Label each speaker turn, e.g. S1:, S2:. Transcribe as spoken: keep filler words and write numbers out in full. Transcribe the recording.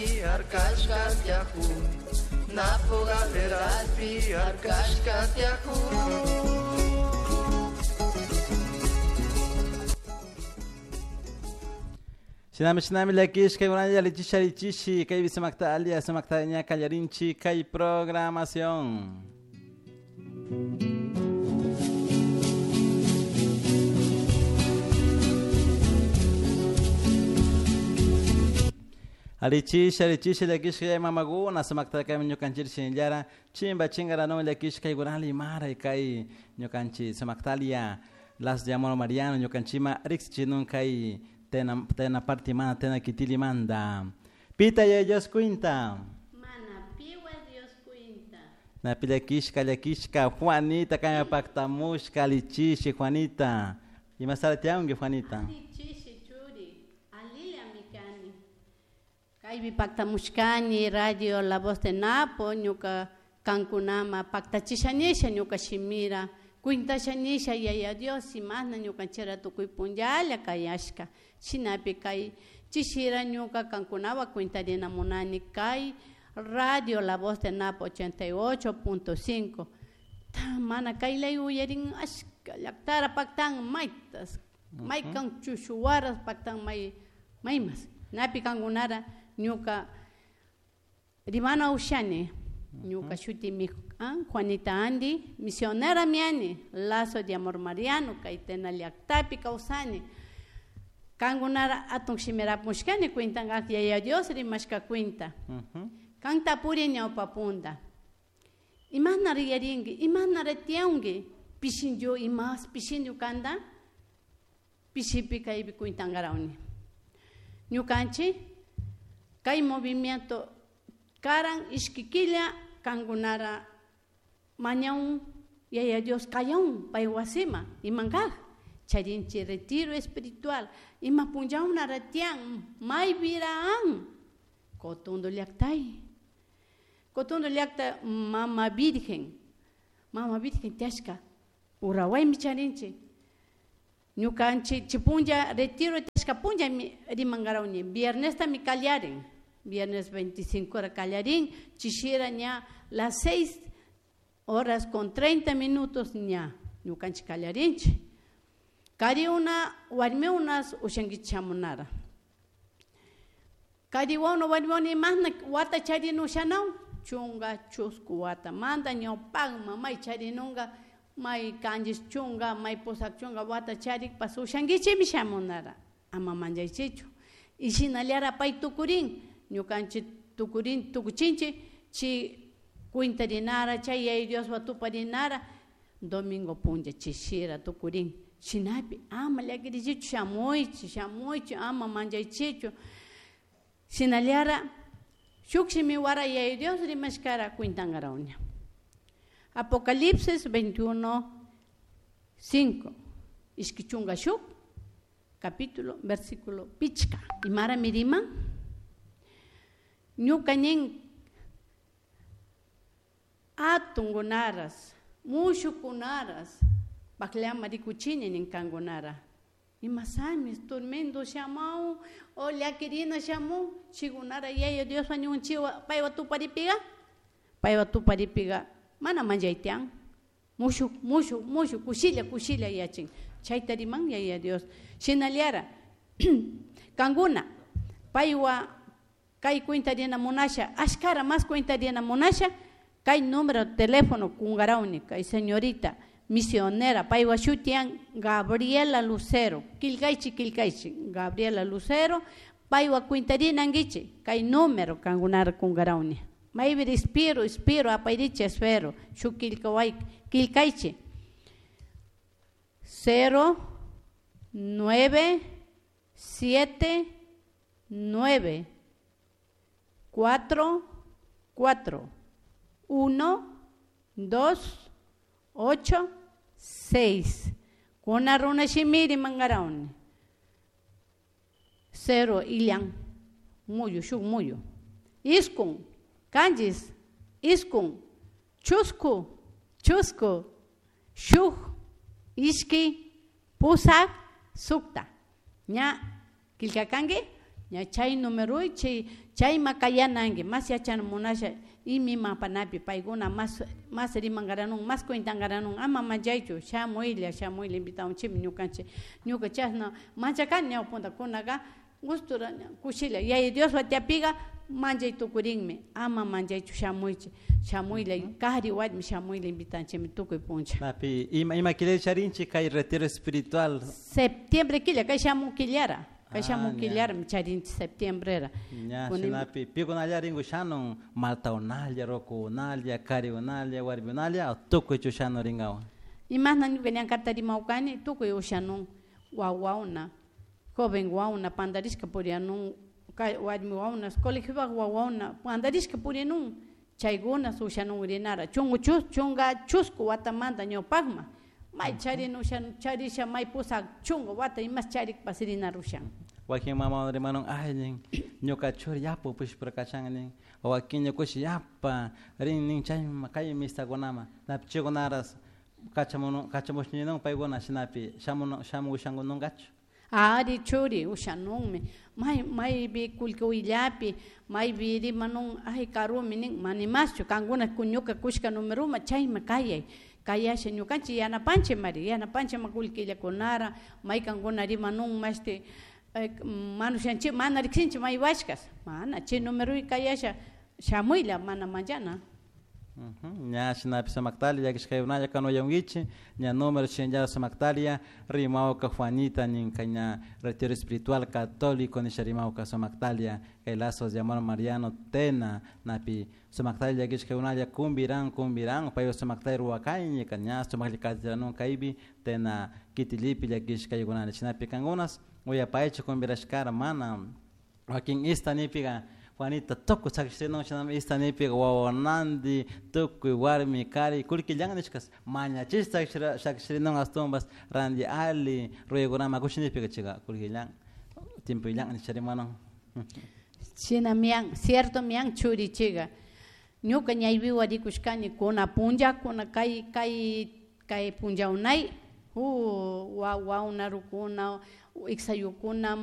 S1: galeraspi harkashka tiyakun. Napo galeraspi harkashka tiyakun.
S2: Shinami shinami llakishka kunalla lichisha lichishi kaypi sumakta alia sumakta ña kallarinchik kay programación. Alichisha alichisha llakishka mamaguna sumakta kay ñukanchik shinllara chimba chingarano llakishka kaykunali mara kay ñukanchik sumaktalia Las de Amor Mariano ñukanchima riqsichinun kay tena tena parte mana tena kitili manda pita ya Dios cuenta
S3: mana piwa Dios cuenta
S2: na pillakishka llakishka Juanita kay pactamushka alichishi Juanita imasaratianki Juanita
S3: alichishi churi alila mikani kaypi pactamushkani radio La Voz de Napo ñuka kankunama pactachishanisha ñuka shimira cuintashanisha yaya Dios imashna ñukanchira tukuy punllalla kayashka shinapi kay chishira ñuka kankunawa cuintarina munani kay radio La Voz de Napo ochenta y ocho punto cinco mana kaylay uyarin ashka llaqtara pactan maytas maykan chushuwaras pactan may maymas napi kankunara ñuka rimana ushani ñuka shutimi ah, Juanita Andy, misionera miani, Lazo de Amor Mariano, kaytena llaqtapi kawsani. Kankunara atun shimirapushkani cuentan yaya Dios rimashka cuenta. Kan tapuri ñawpapunda. Imashna riyarinki, imashna ratiyanki, pishinyu imas pishinyu kanta, pishipi kaypi cuentankarawni. Ñukanchik kay movimiento karan ishkikilla kankunara mañaun yaya Dios kayaun pay wasima imankaj charinchi retiro espiritual ima punllauna ratian maybiraan Cotondo llaqtay Cotondo llaqta mama virgen mama virgen tiyashka Urawaymi charinchi ñukanchik chipunlla retiro tiyashka punlla rimankarawni viernesta mi kallarin viernes veinticinco hora kallarin chishira ña las seis horas con treinta minutos ña ñukanchik kallarinchik kariuna warmiunas ushankichik shamunara kariwauna warmiuna imashna wata charina ushanaun chunga chusku watamanta ñawpakma may charinunka may kanchis chunga may pusak chunga wata charikpas ushankichikmi shamunara ama manchaychichu y shinallara pay tukurin ñukanchik tukurin tukuchinchik chi cuintarinara chay yaya Dioswan tuparinara domingo punlla chishira tukurin shinapi ama llakirichichu shamuychik shamuychik ama manchaychichu shinallara shuk shimiwara yaya Dios rimashkara cuintankarawña Apocalipsis veintiuno cinco ishki chunka shuk capítulo versículo pichka imara miriman ñuka nin atunkunaras mushukunaras pakllama rikuchini nin kankunara imasami tormento shamun o llakirina shamun chikunara yaya Dioswan ñukanchikwa paywan tuparipiga paywan tuparipiga mana manchaytian mushuk mushuk mushuk kushilla kushilla yachin chayta riman yaya Dios shinallara kankuna paywan kay cuentarina munasha ashkara mas cuentarina munasha kay número de teléfono kunkarawni kay señorita misionera paywan shutiyan Gabriela Lucero killkaychik killkaychik Gabriela Lucero paywan cuentarinankichik kay número kankunara kunkarawni maypi espiro espiro apayrichik espero shuk killkaway killkaychik cero nueve siete nueve cuatro cuatro uno dos ocho seis kuna runa shimiri mangarawni cero illan muyu shuk muyu iskun kanchis iskun chusku chusku shuk ishki pusak sukta ña killkakanki ña chay numeroy chay Chayma kayananki mas yachana munasha imi mapanapi paykuna mas mas rimankaranun mas cuentankaranun ama manchaychu shamuylla shamuylla invitamunchikmi ñukanchik ñuka chashna manchakani ñawpunta kunaka gustura kushilla Yaya Diospa tiyapiga manchay tukurinmi ama manchaychu shamuychik shamuylla kari warmi shamuylla invitanchikmi tukuy puncha.
S2: Napi ima ima killa charinchik kay retiro espiritual.
S3: Septiembre killa kay shamun killara kay
S2: Ah,
S3: shamun
S2: ña.
S3: killarami charinchik septiembrera.
S2: Ña
S3: Kunin
S2: shinapi pikunalla rinku shanun maltaunalla, rukuunalla, kariunalla, warmiunalla tukuy chushanu rinkawan.
S3: Imashna ñuka ñankata rimawkani tukuy ushanun wawauna joven wauna pandarishka purianun kay warmi wauna colegiopak wawauna pandarishka purianun chaykuna ushanun rinara chungu chus chunga chusku watamanta ñawpakma may charin ushan charisha may pusak chunga wata imas charikpas rinara ushan.
S2: Wakin mama rimanun ay nin ñuka churi yapa upushpura kachan nin wakin ñukushi yapa rin nin chayma kay misakunama napi chaykunaras kachamun kachamushninun paykuna shinapi shamun shamushankununkachu.
S3: Ari churi ushanunmi may maypi kullki willapi maypi rimanun ay karumi nin manimaschu kankuna ñuka kushka numeruma chayma kayay kayasha ñukanchik yanapanchik mari yanapanchik ma kullkillakunara maykankuna rimanun mashti manushanchik mana riksinchik maywashkas mana chay numeroy kayasha shamuyla mana manchana.
S2: Ña shinapi sumaktalia llakishkaykunalla kanuyankichik ña número shinallara sumaktalia rimawka Juanita ninka ña retiro espiritual católico nisha rimawka sumaktalia kay lazos de amor mariano Tena napi sumaktalia llakishkaykunalla kumbiran kumbiran paypak sumaktalia ruwakayñika ña sumaklla katiranun kaypi Tena kitilipi llakishkaykunalla shinapi kankunas uyapaychik kumbirashkara mana wakin ista nipika Juanita tukuy sakishrinun shinami ista nipika wawananti tukuy warmi kari kullkillan nishkas mañachish sakishrinun ashtawanpas ranti alli ruraykunaman kushi nipika chayka kullkillan tiempoyillan nisha rimanun.
S3: Shina mian cierto mian churichiga ñuka ñaypiwa rikushkani kuna punllakuna kay kay kay punllaunay uh wawauna rukuna iksayukuna.